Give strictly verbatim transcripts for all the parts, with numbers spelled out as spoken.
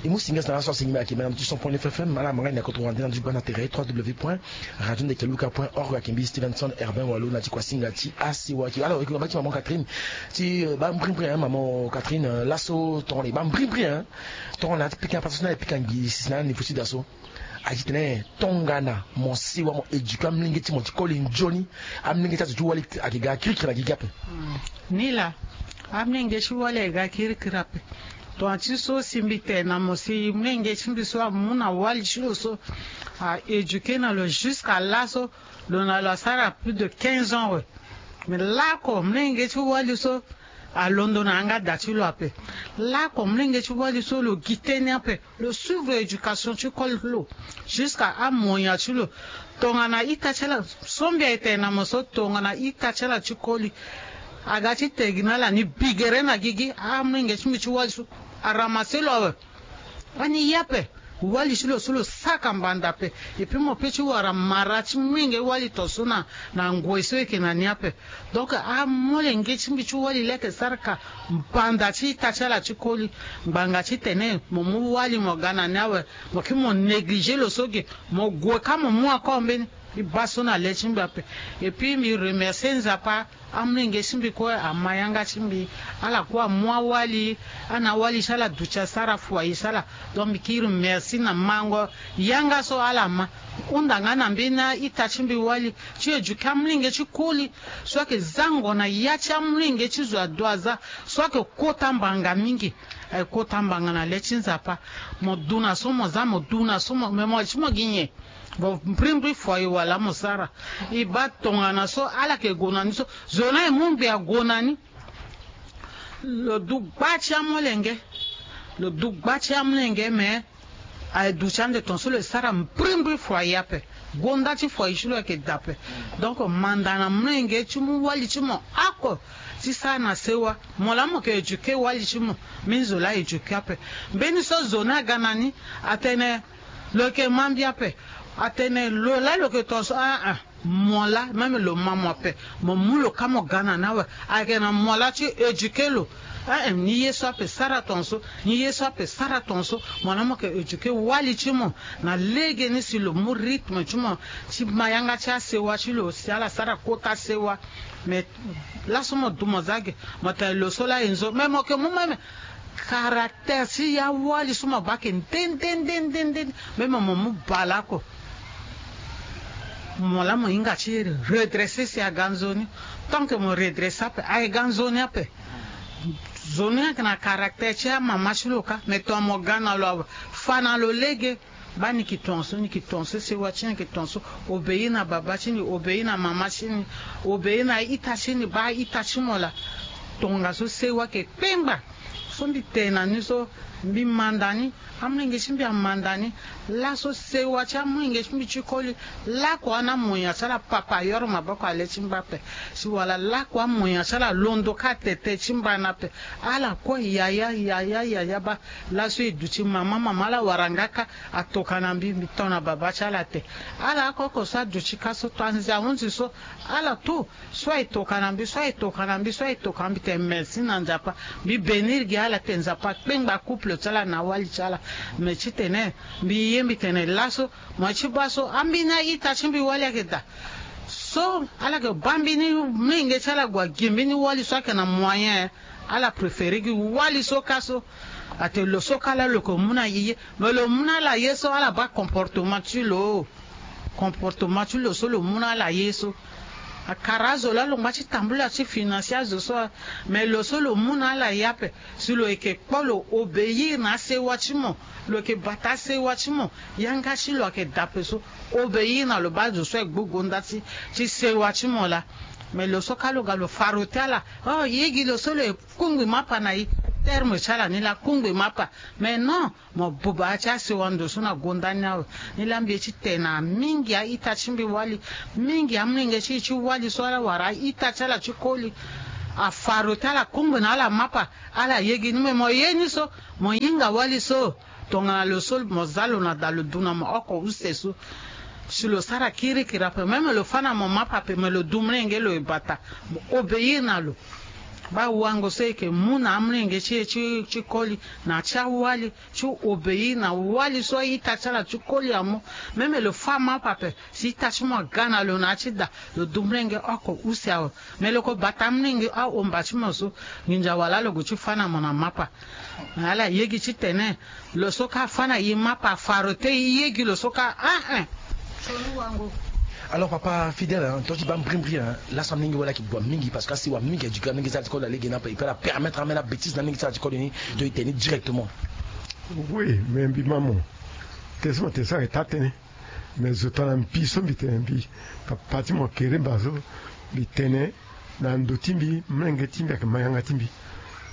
E mu singa sana so asingi me ayeke mena ti cent point neuf F M ala manga ni na koto wande na ndu gbanda tere trois W point radio ndeke luka point org. Ayeke mbi Stevenson Herbin Walo na ti kuasinga ti asewa ayeke ala yeke baba ti maman Catherine ti eh, baa mbrimbri hein maman Catherine eh, laso tongana e baa mbrimbri hein. Tongana ti pika pasa so na e pika ngbisi na ni futi da so. Aye ti tene tongana mo sewa mo éduquer amolenge ti mo ti koli nzoni. Amolenge ti azo ti wali ayeke ga kirikiri na gigi ape. Ni laa amolenge ti wali ayeke ga kirikiri ape. Tongana ti so si mbi tene na mo si molenge ti mbi so amu na wali ti lo so a éduquer na lo jusqu'à laso. Lo na lo asara plus de quinze ans awe. Mais laoko molenge ti wali so alondo na yanga da ti lo ape. Laoko molenge ti wali so lo gi tënë ape. Lo suivre éducation ti koli ti lo jusqu'à amoyen ti lo. Tongana ita ti ala so mbi aye tene na mo so tongana ita ti ala ti koli aga ti tene gi na ala ni bigere na gigi amolenge ti mbi ti wali so aramassé lo awe. Ani ye ape. Wali ti lo so lo saka mbanda ape. Et puis mo pe ti wara mara ti molenge wali tongaso na na ngoi so e yeke na ni ape. Donc amolenge ti mbi ti wali laa ayeke sara ka mbanda ti ita ti ala ti koli. Ngbanga titene mo mu wali mo ga na ni awe. Mo kiri mo négliger lo so ge. Mo gue kâ mo mu encore mbeni. E baa so na le ti mbi ape. Et puis mbi remercier Nzapa. Amolenge ti mbi kue ama yanga ti mbi. Ala kue amu awali. Ana awali ti ala aduti asara foyer ti ala. Donc mbi kiri merci na mango yanga so ala ma. Hunda nga na mbeni a-ita ti mbi wali ti éduquer amolenge ti koli so ayeke zango na ya ti amolenge ti zo ado aza so ayeke kota mbanga mingi. Ayeke kota mbanga na le ti Nzapa. Mo du na so mo za mo du na so mo me mo ti mo gi nyen? Bon mbrimbri foi e wala mo sara. E baa tongana so ala yeke gue na ni so zo ni aye mu ngbe ague na ni. Lo du gba ti amolenge. Lo du gba ti amolenge me aye duti ande tongaso lo ye sara mbrimbri foi ape. Gonda ti foi ti lo ayeke daa ape. Donc manda na molenge ti mu wali ti mo oko ti sara na sewa. Mo laa mo yeke éduquer wali ti mo. Mbeni zo laa éduquer ape. Mbeni so zo ni aga na ni atene lo yeke ma mbi ape. Atene lo laa lo yeke tongaso aa. Mo laa même lo ma mo ape. Mo mu lo kâ mo ga na ni awe. Ayeke na mo laa ti éduquer lo. Ee ni ye so ape sara tongaso. Ni ye so ape sara tongaso. Mo laa mo yeke éduquer wali ti mo na legeni si lo mu rythme ti mo ti ma yanga ti asewa ti lo si ala sara kota sewa. Mais laso mo du mo za ge. Mo tene lo so laa e nzo mais mo yeke mu même caractère ti ya wali so mo baa ayeke nde nde nde nde nde. Même mo mu baleoko. Mo laa mo hinga ti redresser si aga nzoni. Tant que mo redresser ape aye ga nzoni ape. Zo ni ayeke na caractère ti amama ti lo kâ mais tongana mo ga na lo awe fa na lo lege. Baa ni yeke tongaso ni yeke tongaso sewa ti ni yeke tongaso. Obéir na baba ti ni obéir na mama ti ni. Obéir na ita ti ni baa ita ti mo laa. Tongaso sewa yeke kpengba. So mbi tene na ni so mbi manda ni. Amolenge ti mbi amanda ni. Laso sewa ti amolenge ti mbi ti koli. Lakua na moyen ti ala papa ayoro maboko ale ti mba ape. Si wala lakua moyen ti ala londo ka tete ti mba ni ape. Ala kue yaya yaya yaya baa. Laso e duti mama mama ala wara nga ka. Atoka na mbi mbi to na baba ti ala te. Ala oko oko so aduti ka so to anze ahunzi so. Ala tout. So aye toka na mbi so aye toka na mbi so aye toka na mbi tene merci na nzapa. Mbi bénir gi ala tene nzapa akpengba couple ti ala na awali ti ala. Me titene mbi ye mbi tene laso. Mo ye ti baa so ambeni a-ita ti mbi wali ayeke daa. So ala yeke baa mbeni menge ti ala gue agi mbeni wali so ayeke na moyen. Ala préféré gi wali so kâ so. Atene lo so kâ laa lo yeke mu na e ye. Me lo mu na ala ye so ala baa comportement ti lo. Comportement ti lo so lo mu na ala ye so. Akara azo laa lo ngba ti tambula ti financer azo so. Me lo so lo mu na ala ye ape. Si lo yeke kpo lo obéir na asewa ti mo. Lo yeke bata asewa ti mo. Yanga ti lo ayeke daa ape so. Obéir na lo baa zo so aye gbu gonda ti ti sewa ti mo laa. Me lo so kâ lo ga lo farote ala. Oh ye gi lo so lo ye kungbi mapa na e. Terme ti ala ni laa kungbi mapa. Mais non. Mo buba ti asewa ndo so na gonda ni awe. Ni laa mbi ye ti tene na mingi a-ita ti mbi wali. Mingi amolenge ti e ti wali so ala wara a-ita ti ala ti koli. Afarote ala kungbi na ala mapa. Ala ye gi ni me mo ye ni so. Mo hinga wali so. Tongana lo so mo za lo na daa lo du na mo oko use so. Si lo sara kirikiri ape même lo fâ na mo mapa ape me lo du molenge lo e bata. Mo obéir na lo. Baa wango so e yeke mu na amolenge ti e ti ti koli na ti awali ti obéir na wali so a-ita ti ala ti koli amu. Même lo fâ mapa ape si ita ti mo aga na lo na ya ti da, lo du molenge oko use awe. Me lo ko bata amolenge ahomba ti mo so, nginza wala lo gue ti fâ na mo na mapa. Ala yegi titene lo so ka fâ na e mapa, farote e yegi lo so ka, ah eh. Soni wango. Alors papa Fidèle, hein, to ti baa mbrimbri, hein, laso amolenge wala ayeke gue mingi parce que asewa mingi, éduquer amolenge ti ala ti koli na lege ni ape, e peut ala permettre amêle abêtise na amolenge ti ala ti koli ni. To e tene ni directement. Oui, mais mbi ma mo, tene so mo tene so ayeke taa tënë. Mais zo tongana mbi so mbi tene mbi, papa ti mo Keremba so, mbi tene na ndo ti mbi, molenge ti mbi ayeke ma yanga ti mbi.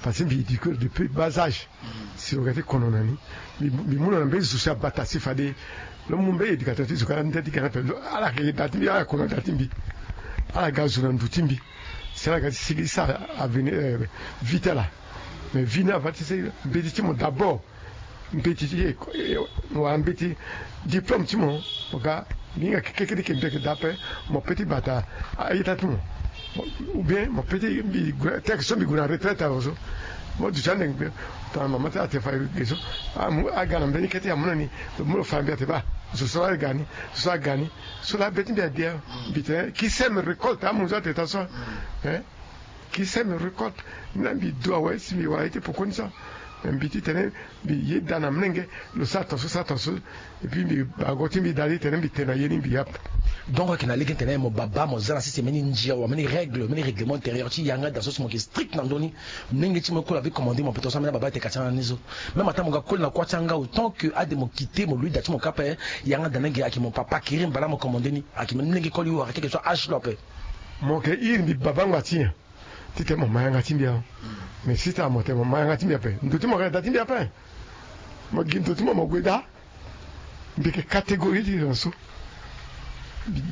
Parce que mbi éduquer lo depuis bas âge. Si lo ga ti kono na ni, mbi, mbi mu lo na mbeni zo si abata si fade lo mu mbeni éducateur ti zo ka nde ti ga na ape. Lo, ala yeke da ti mbi, ala yeke kono na da ti mbi. Ala ga zo na ndo ti mbi. Si ala ga ti sigi sara avenir, eh, vie ti ala. Mais vie ni ava ti si mbeti ti mo d'abord. Mbeti ti, eh, eh, wala mbeti diplôme ti mo, mo ga, mbi hinga kekeke ti ke mbi yeke daa ape, mo peut ti bata a-ita ti mo. Ou bien mo peut ti mbi gue, tel que so mbi gue na retraite awe so. Mo duti ande mbi, tongana mama ti ala te fa ge so, amu, aga na mbeni kete amu na ni, lo mu lo fa mbi ate baa, zo so laa ga ni, zo so aga ni, so laa be ti mbi ade awe. Mbi tene, qui sème récolte, amu zo ate taa so. Hein? Qui sème récolte. Ni laa mbi du awe si mbi wara ye ti pekoni so. Mais mbi ti tene mbi yeda na molenge, lo sara tongaso, sara tongaso. Et puis mbi bango ti mbi daa ti tene mbi tene na ye ni mbi ya ape. Donc ayeke na lege ti tene mo baba mo za na sese mbeni ndia wala mbeni règle, mbeni règlement intérieur ti yanga daa so si mo yeke strict na ndö ni. Molenge ti mo e koli ape commande mo ape tongaso ambeni ababa ayeke ka ti yanga ni so. Même ataa mo ga koli na kuâ ti yanga, autant que ade mo quitté mo lui daa ti mo ka ape, yanga daa ni ayeke mo papa Keremba laa mo commande ni. Ayeke mbeni molenge koli wala quel que soit âge ti lo ape. Mo yeke iri mbi baba ngba ti nyen? Titene mo ma yanga ti mbi awe. Mais si tongana mo tene mo ma yanga ti mbi ape, ndo ti mo ayeke na da ti mbi ape. Mo gi ndo ti mo mo gue daa. Mbi yeke catégorie ti tene so.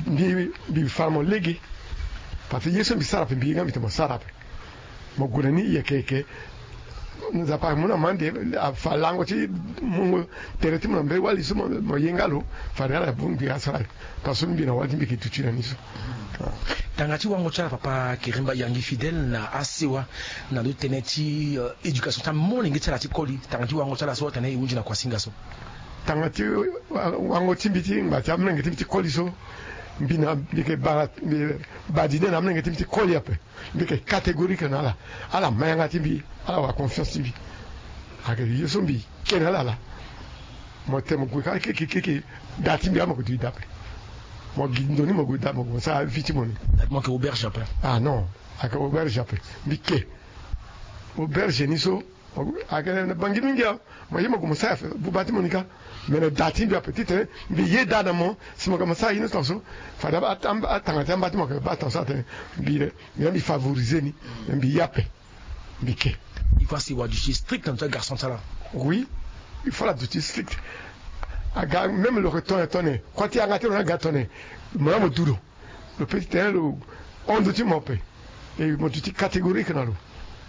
Mbi, mbi fa na mo lege. Parce que ye so mbi sara ape mbi ye nga mbi tene mo sara ape. Mo gue na ni yeke yeke. Nzapa amu na mo ande, afa lango ti mungo tere ti mo na mbeni wali so mo, mo ye nga lo. Fade ala bongbi asara. Parce que mbi na wali ti mbi yeke duti na ni so. Tanga ti wango ti ala papa Keremba Yangi Fidèle na asewa na ndo ti tënë ti, euh, éducation ti amolenge ti ala ti koli. Tanga ti wango ti ala so atene e hunzi na kuasinga so. Tanga ti wa-, wango ti mbi ti ngba ti amolenge ti mbi ti koli so, mbi na, mbi yeke bara, mbi badine na amolenge ti mbi ti koli ape. Mbi yeke catégorique na ala. Ala ma yanga ti mbi, ala wara confiance ti mbi. Ayeke ye so mbi ke na ala laa. Mo tene mo gue ka keke keke, da ti mbi laa mo yeke duti daa ape. Mo gi ndo ni mo gue daa, mo gue mo sara vie ti mo ni. Mo yeke auberge ape? Ah non, ayeke auberge ape. Mbi ke auberge ni so, ayeke na bangi mingi awe. Mo ye mo gue mo sara buba ti mo ni ka. Mais na da ti mbi ape titene mbi yeda na mo si mo ga mo sara ye ni tongaso, fade aba, aba, atanga ti amba ti mo ayeke baa tongaso atene mbi le, mbi, mbi favoriser ni. Mais mbi ye ape. Mbi ke. Il faut asewa duti strict na ndo ti agarçon ti ala. Oui, il faut ala duti strict. Aga même lo yeke tongana tongana kuâ ti yanga ti lo ni aga tongana, mo laa mo du lo. Lo peut ti tene lo hon ndo ti mo ape. E mo duti catégorique na lo.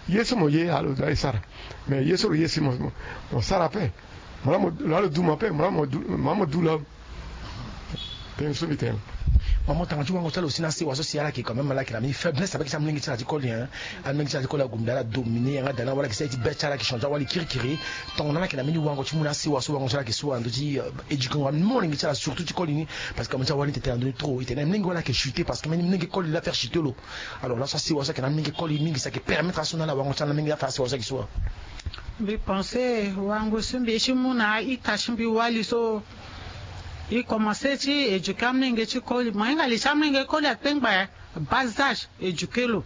Ye so mo ye ala lo daa e sara. Mais ye so lo ye si mo, mo, mo sara ape. Mo laa mo, lo laa lo du mo ape, mo laa mo du, mo laa mo du lo. Tënë so mbi tene. Maman, tanga ti wango ti ala aussi na asewa so si ala yeke quand même ala yeke na mbeni faiblesse avec ti amolenge ti ala ti koli, hein. Amolenge ti ala ti koli ague mbi ala dominer yanga daa ni, wala ayeke sara ye ti be ti ala ayeke changer wali kirikiri. Tongana ala yeke na mbeni wango ti mu na asewa so wango ti ala ayeke so na ndö ti, euh, éduquer ngo amolenge ti ala surtout ti koli ni. Parce que amolenge ti ala wani tene na ndö ni trop, e tene na molenge wala ayeke chuter parce que mbeni molenge koli laa faire chuter lo. Alors laso asewa so ayeke na amolenge koli mingi so ayeke permettre aso na ala wango ti ala na molenge afa asewa so ayeke so. Mbi pense wango so mbi ye ti mu na a-ita ti mbi wali so. E commencer ti éduquer amolenge ti koli. Mo hinga li ti amolenge koli akpengba ya. Bas âge, éduquer lo.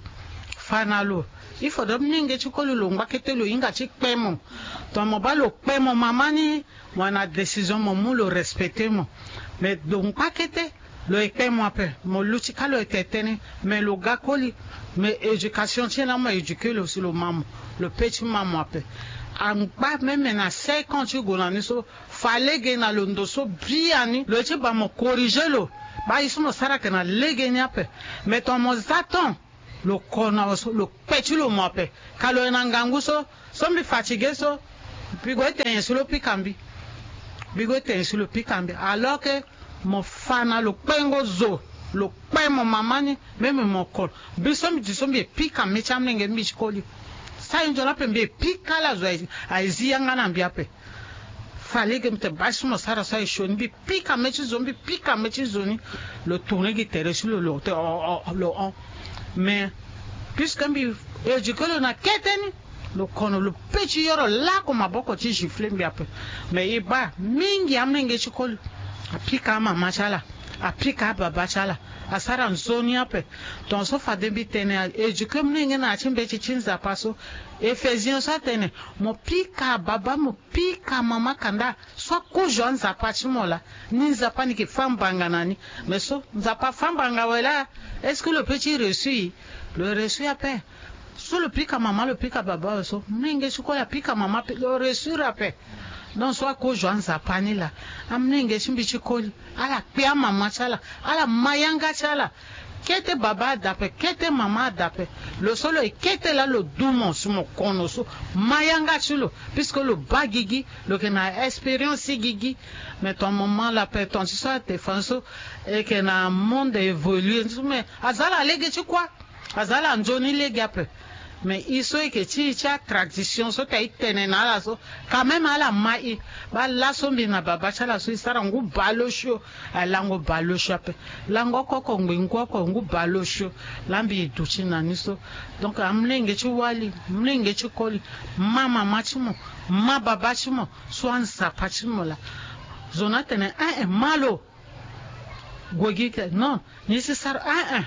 Fa na lo. Il faudrait amolenge ti koli lo ngba kete lo hinga ti kpe mo. Tongana mo baa lo kpe mo mama ni, mo na décision mo mu lo respecter mo. Mais lo ngba kete, lo ye kpe mo ape, mo luti ka lo ye tene tënë, mais lo ga koli, mais éducation ti e laa mo éduquer lo si lo ma mo, lo peut ti ma mo ape. Angba même na cinq ans ti gue na ni so, fa lege na lo ndo so biani, lo ye ti baa mo corriger lo. Baa ye so mo sara ayeke na lege ni ape. Mais tongana mo za temps, lo ko na lo so, lo kpe ti lo mo ape. Ka lo ye na ngangu so, so mbi fatigué so, mbi gue tene nyen si lo pika mbi. Mbi gue tene nyen si lo pika mbi. Alors que mo fa na lo kpengo zo. Lo kpe mo mama ni, même mo kolo. Mbi so mbi di so mbi pika mê ti amolenge ti mbi ti koli. Sara nzoni ape mbi pika ala zo aye zi yanga na mbi ape. Fallait que mbi tene bâ ti mo sara so aye sioni, mbi pika mê ti zo, mbi pika mê ti zo ni. Lo tourner gi tere ti lo, lo te o o lo hon. Mais puisque mbi éduquer lo na kete ni, lo kono lo pe ti yoro lako maboko ti gifler mbi ape. Mais e bâ mingi amolenge ti koli. Apika amama ti ala, apika ababa ti ala, asara nzoni ape. Tongaso fade mbi tene éduquer molenge na ya ti mbeti ti Nzapa so. Éphésien so atene mo pika ababa, mo pika amama, kanda so akozo anzapa ti mo laa, ni Nzapa ni yeke fâ mbanga na ni. Mais so Nzapa afâ mbanga awe laa, est-ce que lo pe ti reçu? Lo reçu ape. So lo pika mama, lo pika baba awe so, molenge ti koli apika mama ape, lo reçu ape. Donc so akozo anzapa ni laa, amolenge ti mbi ti koli, ala kpe amama ti ala, ala ma yanga ti ala. Kete baba ada ape, kete mama ada ape. Lo so lo ye kete laa, lo du mo si mo kono so, ma yanga ti lo. Puisque lo bâ gigi, lo yeke na expérience ti gigi. Mais ton moment la ape, ton ti so ate fa so, e yeke na monde évolué so, mais aza ala lege ti kuâ. Aza ala nzoni lege ape. Mais e so e yeke ti e ti atradition so ta e tene na ala so, quand même ala ma e. Bâ laso mbi na baba ti ala so e sara ngu baleosio. Aye lango baleosio ape. Lango oko oko ngbengu oko ngu baleosio. Laa mbi e duti na ni so. Donc amolenge ti wali, molenge ti koli, ma mama ti mo, ma baba ti mo, so anzapa ti mo laa. Zo ni atene eh eh ma lo. Gue gi ke, non, ni si sara eh eh.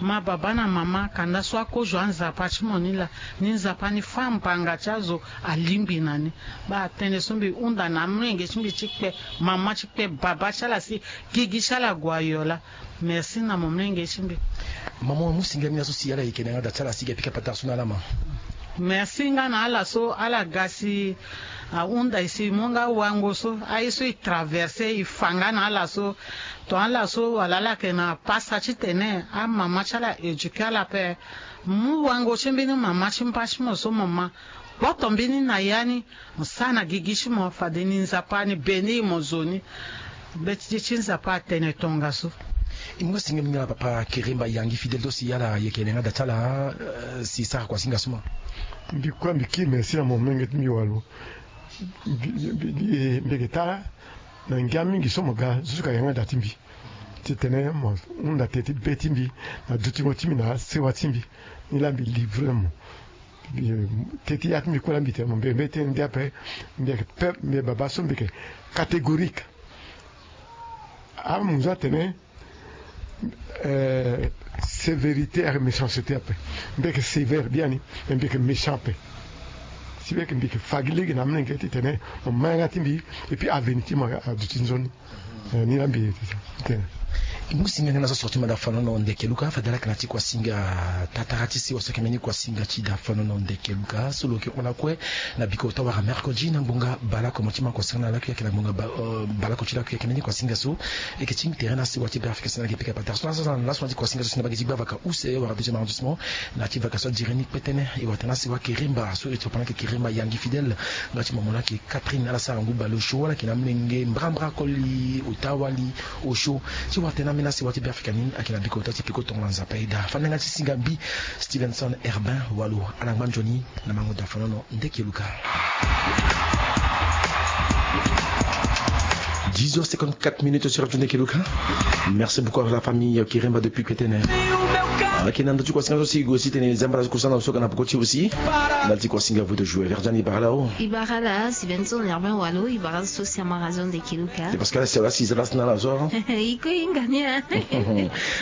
Ma baba na mama, kanda so akozo anzapa ti mo ni laa, ni Nzapa ni fâ mbanga ti azo alingbi na ni. Bâ tënë so mbi hunda na amolenge ti mbi ti kpe mama ti kpe baba ti ala si gigi ti ala gue ayo laa. Merci na mo molenge ti mbi. Mama, mu singa mingi na so si ala yeke na yanga da ti ala si e ga pika patara so na ala ma. Merci nga na ala so ala ga si ahunda e si e mu nga wango so, aye so e traverser e fa nga na ala so. Ton ala so wala ala yeke na pasa titene amama ti ala éduquer ala ape. Mu wango ti mbeni mama ti mba ti mo so mo ma, kpoto mbeni na ya ni, mo sara na gigi ti mo, fade ni Nzapa ni bénir mo zo ni. Mbeti ti Nzapa atene tongaso. E mu singa mingi na papa Keremba Yangi Fidèle, so si ala yeke na yanga da ti ala, eh, si e sara kua singa so ma. Mbi kue mbi kiri merci na mo molenge ti mbi walo. Mbi, mbi, mbi, mbi yeke tara na ngia mingi so mo ga jusqu'à yanga da ti mbi. Titene mo hunda teti be ti mbi na dutingo ti mbi na sewa ti mbi. Ni laa mbi livrer mo. Mbi, teti ya ti mbi kue laa mbi tene mo mbi, mbi tene ndia ape, mbi yeke peuple, mbi baba so mbi yeke catégorique. Amu zo atene, eh, sévérité avec méchanceté ape. Mbi yeke sévère biani, mais mbi yeke méchant ape. Si mbi yeke, mbi yeke fa gi lege na amolenge titene mo ma yanga ti mbi, et puis avenir ti mo aduti nzoni. Eh, ni laa mbi tene. E mu singa nga na so sorti ma da fanono ndeke luka, fade ala yeke na ti kua singa tatara ti sewa so ayeke mbeni kua singa ti da fanono ndeke luka so lo yeke hon lakue na bikota wala mercredi na ngbonga baleoko mo ti ma kua singa na lakue ayeke na ngbonga ba, eh, baleoko ti lakue ayeke mbeni kua singa so. E yeke ti tere na sewa ti Beafrika si na yeke pika patara so na laso na ti kua singa so si na bage ti gbavaka use wala deuxième arrondissement. Na ti vaka so adiri ni kpetene e wara tena si wa Keremba so e ti papa na yeke Keremba Yangi Fidèle. Nga ti mama na yeke Catherine ala sara ngu baleosio wala yeke na amolenge mbrambra koli ota wali osio. Ti wara tena ambeni asi wa ti Beafrika ni ayeke na bikota ti peko tongo na Nzapa e daa. Fani na yanga ti singa mbi Stevenson Herbin Walo ala ngba nzoni na mango da fanono. Ndeke luka. Dix heures cinquante-quatre minutes sur Radio Ndeke Luka. Merci beaucoup à la famille Kiremba depuis Ketene. Ah, ok, na ndö ti kua singa so si e gue si tene zamba la so kusana so ka na peko ti aussi. Na ti kua singa vous de jouer. Verdiane, e bara la o. E bara la, Stevenson Herbin Walo, e bara so si ama Radio Ndeke Luka. C'est parce que là, c'est là, si ça, là, c'est là, là, ça. E kue e hinga ni, hein.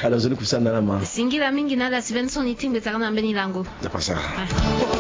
Alors, nzoni kusana na ma. Singila mingi na ala Stevenson, e tingbi tara na mbeni lango. Dapa sa. Ah.